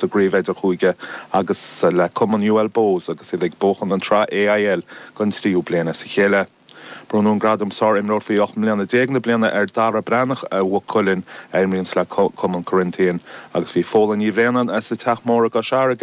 Sa gcraobh idirchúige agus le cumann UL Bohs agus iad ag buachan an tsraith AIL don tríú bliain as a chéile. Bronnadh an gradam Sár-Imreoir faoi 18 mbliana na bliana ar Dara Breathnach ó Mhaigh Cuilinn, a imríonns le cumann Corinthian, agus bhí Fódhla Ní Bhraonáin as an Teach Mór i gCois Fharraige.